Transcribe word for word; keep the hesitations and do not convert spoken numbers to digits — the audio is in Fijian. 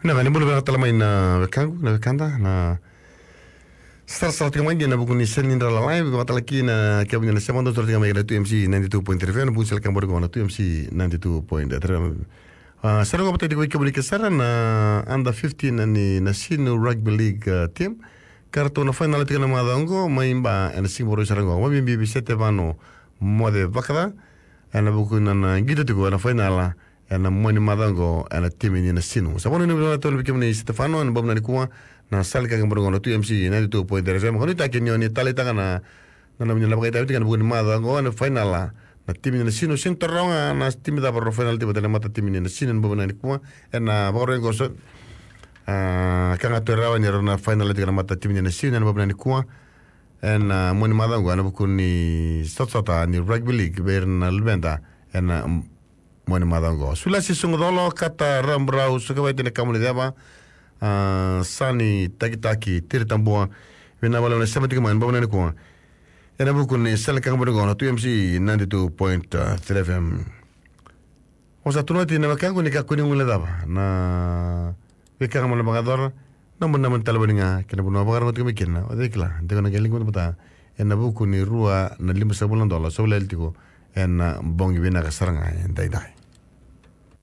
Na vale bula vinaka tale mai na wekaqu, na wekada, na sarasara tiko mai dina ena vuku ni seni dra lalai, vakatalaki na kemuni na sema dou sara tiko mai na two M C ninety-two point three F M, na vuku ni sala ka bori qo na two M C ninety-two point three F M. A, sara qo vata tiko vei kemuni ke sara na under fifteen ni Nasinu Rugby League, a, team. Ka ratou na final tiko na macawa qo, mai Ba, ena siga Vakarauwai sara qo. Vakabibi vei Setevano Moce Vakaca, ena vuku ni nona qito tiko ena final, ena mua ni macawa qo, ena timi ni Nasinu. Sa vanua ni vinaka tolu vei kemuni Setevano, ena bobu na nikua, na sala ka bori qo na two M C ninety-two point three F M. Ka nuitaki ni o ni taleitaka na, na nomuni na vakaitavi tiko ena vuku ni macawa qo, ena final, na timi ni Nasinu, sega ni taroga na timi cava rau final tiko vata na mata timi ni Nasinu, ena bobu na nikua, ena Vakarauwai qo so, a, ka ga tu e rawa ni rau na final tiko na mata timi ni Nasinu, ena bobu na nikua, ena mua ni macawa qo, ena vuku ni sotasota ni rugby league, vei ira na luveda, ena mua ni macawa qo. Sulasi Sugucolo, Kata Raburau, Sukavai Tine Kamuniceva, a, Sani Takitaki, Tiri Tabua, vinaka vakalevu na sema tiko mai, ena bobu na nikua. Ena vuku ni sala ka bori qo na two M C ninety-two point three F M. O sa tu na wati na wekaqu ni kakua ni guilecava na veika ga mo na vakayacora, na nomuni naba ni talevoni ga kei na vanua o vakarorogo tiko mai kina. O cei kila, de o na qai liga vata ena vuku ni rua na limasagavulu na dola, sa vula yali tiko ena bogi vinaka sara ga edaidai.